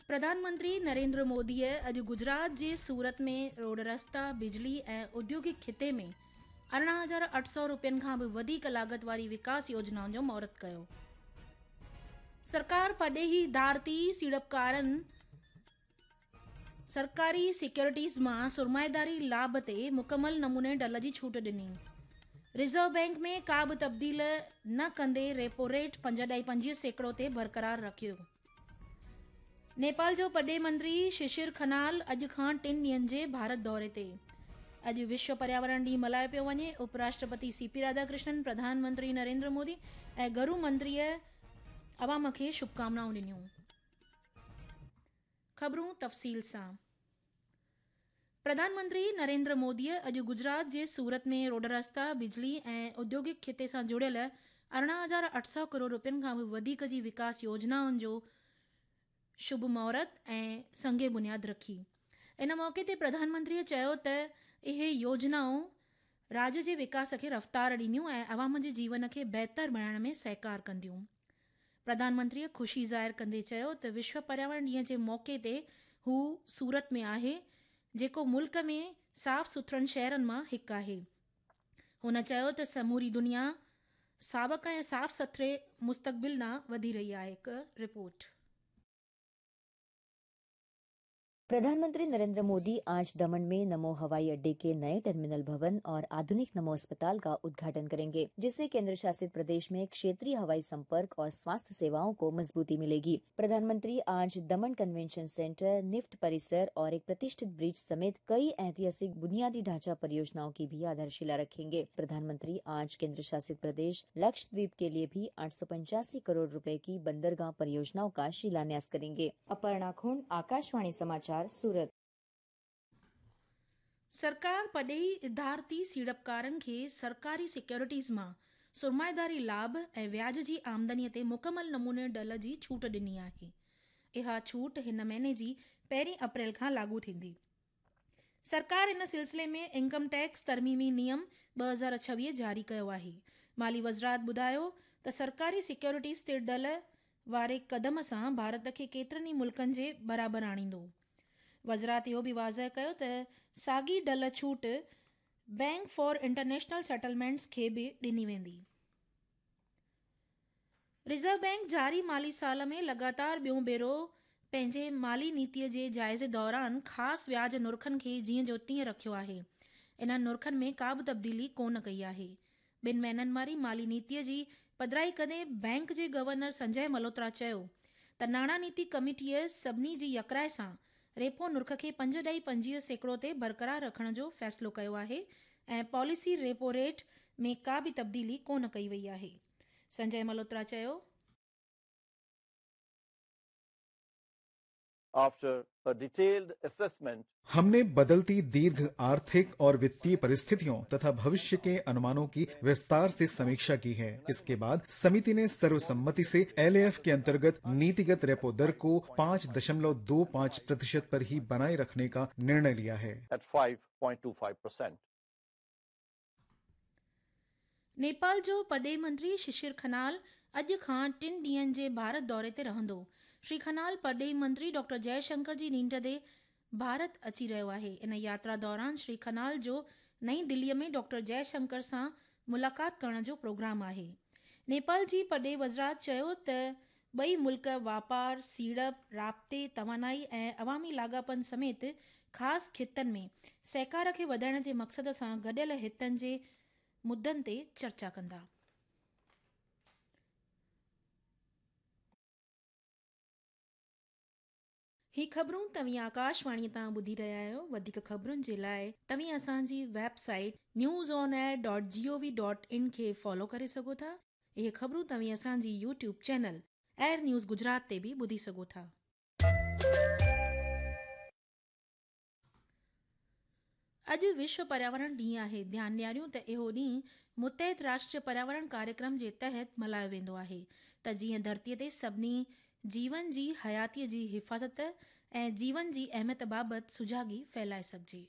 پرڌان منتري نريندر موديء اڄ گجرات جي سورت ۾ روڊ رستا، بجلي ۽ اوديوگڪ خطي ۾ 18,800 رپين کان به وڌيڪ لاڳت واري وڪاس يوجنائن جو مهورت ڪيو. سرڪار پرڏيهي ڌارتي سيڙپڪارن سرڪاري سيڪيورٽيز مان سرمائيداري لاڀ تي مڪمل نموني ڍل جي ڇوٽ ڏني. ريزرو بئنڪ ۾ ڪا به تبديل نه ڪندي ريپو ريٽ 5.25% تي برقرار رکيو. نيپال جو پرڏيهي منتري ششر کنال اڄ کان ٽن ڏينهن جي ڀارت دوري تي. اڄ وشو پرياورڻ ڏينهن ملهايو پيو وڃي. اپ راشٽرپتي سي پي راڌاڪرشنن، پرڌان منتري نريندر مودي ۽ گهرو منتريء عوام کي شڀڪامنائون ڏنيون. خبرون تفصيل سان، پرڌان منتري نريندر موديء اڄ گجرات جي سورت ۾ روڊ رستا، بجلي ۽ اوديوگڪ خطي سان جڙيل 18,800 ڪروڙ رپين کان به وڌيڪ جي وڪاس يوجنائن جو شڀ مهورت ۽ سنگ بنياد رکي. ان موقعي تي پرڌان منتريء چيو ته اهي يوجنائون راڄ جي وڪاس کي رفتار ڏينديون ۽ عوام جي جيون کي بهتر بڻائڻ ۾ سهڪار ڪنديون. پرڌان منتريء خوشي ظاهر ڪندي چيو ته وشو پرياورڻ ڏينهن جي موقعي تي هو سورت ۾ آهي، جيڪو ملڪ ۾ صاف سٿرن شهرن مان هڪ آهي. هن چيو ته سموري دنيا ساوڪ ۽ صاف سٿري مستقبل ڏانهن وڌي رهي آهي. هڪ رپورٽ. प्रधानमंत्री नरेंद्र मोदी आज दमन में नमो हवाई अड्डे के नए टर्मिनल भवन और आधुनिक नमो अस्पताल का उद्घाटन करेंगे, जिससे केंद्र शासित प्रदेश में क्षेत्रीय हवाई संपर्क और स्वास्थ्य सेवाओं को मजबूती मिलेगी। प्रधानमंत्री आज दमन कन्वेंशन सेंटर, निफ्ट परिसर और एक प्रतिष्ठित ब्रिज समेत कई ऐतिहासिक बुनियादी ढांचा परियोजनाओं की भी आधारशिला रखेंगे। प्रधानमंत्री आज केंद्र शासित प्रदेश लक्षद्वीप के लिए भी आठ करोड़ रुपए की बंदरगाह परियोजनाओं का शिलान्यास करेंगे। अपर्णा खुंड, आकाशवाणी समाचार, सूरत। सरकार पڏيهي ادارتي سيڙپڪارن کي سرڪاري سيڪيورٽيز مان سرمائيداري لاڀ ۽ وياج جي آمدني تي مڪمل نموني ڍل جي ڇوٽ ڏني آهي. اها ڇوٽ هن مهيني جي پهرين اپريل کان لاڳو ٿيندي. سرڪار ان سلسلي ۾ انڪم ٽيڪس ترميمي نيم 2026 جاري ڪيو آهي. مالي وزارت ٻڌايو ته سرڪاري سيڪيورٽيز تي ڍل واري قدم سان ڀارت کي ڪيترن ئي ملڪن جي برابر آڻيندو. وزارت اهو به واضح ڪيو ته ساڳي ڍل ڇوٽ بئنڪ فار انٽرنيشنل سيٽلمينٽس کي به ڏني ويندي. ريزرو بئنڪ جاري مالي سال ۾ لڳاتار ٻيون ڀيرو پنهنجي مالي نيتي جي جائزي دوران خاص وياج نرخن کي جيئن جو تيئن رکيو آهي. انهن نرخن ۾ ڪا به تبديلي ڪونه ڪئي آهي. ٻن مهينن واري مالي نيتي جي پڌرائي ڪندي بئنڪ جي گورنر سنجي ملهوترا چيو ته ناڻا نيتي ڪميٽيء سڀني جي يڪراء سان ريپو نرخ کي 5.25% تي برقرار رکڻ جو فيصلو ڪيو آهي ۽ پاليسي ريپو ريٽ ۾ ڪا به تبديلي ڪونه ڪئي وئي آهي. سنجي ملهوترا چيو. After a detailed assessment. हमने बदलती दीर्घ आर्थिक और वित्तीय परिस्थितियों तथा भविष्य के अनुमानों की विस्तार से समीक्षा की है। इसके बाद समिति ने सर्वसम्मति से एलएएफ के अंतर्गत नीतिगत रेपो दर को 5.25% पर ही बनाए रखने का निर्णय लिया है। At 5.25%. Nepal جو پرڏيهي منتري ششر کنال اڄ کان ٽن ڏينهن جي ڀارت دوري تي رهندو. شري کنال پرڏيهي منتري ڊاڪٽر جئه شنڪر جي نينڍ تي ڀارت اچي رهيو آهي. ان ياترا دوران شري کنال جو نئين دلي ۾ ڊاڪٽر جئه شنڪر سان ملاقات ڪرڻ جو پروگرام آهي. نيپال جي پرڏيهي وزارت چيو ته ٻئي ملڪ واپار، سيڙپ، رابطي، توانائي ۽ عوامي لاڳاپن سميت خاص خطن ۾ سهڪار کي وڌائڻ جي مقصد سان گڏيل هتن جي مدن تي چرچا ڪندا. هي خبرون توهين آڪاشواڻي تان ٻڌي رهيا آهيو. وڌيڪ خبرن جي لاء توهين اسان جي website news on air dot G O V dot in کي فالو ڪري سگهو ٿا. اهي خبرون توهين اسان جي YouTube channel AIR news Gujarat تي به ٻڌي سگهو ٿا. اڄ وشو پرياورڻ ڏينهن آهي. ڌيان ڏياريون ته اهو ڏينهن متحد راشٽر پرياورڻ ڪاريڪرم جي تحت ملهايو ويندو آهي ته جيئن ڌرتي تي سڀني جيون جي حياتي جي حفاظت ۽ جيون جي اهميت بابت سجاڳي ڦهلائي سگهجي.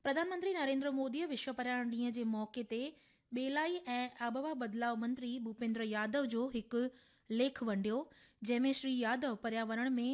پرڌان منتري نريندر موديء وشو پرياورڻ ڏينهن جي موقعي تي ٻيلائي ۽ آبهوا بدلاء منتري ڀوپيندر يادو جو هڪ ليک ونڊيو جنهن ۾ شري يادو پرياورڻ ۾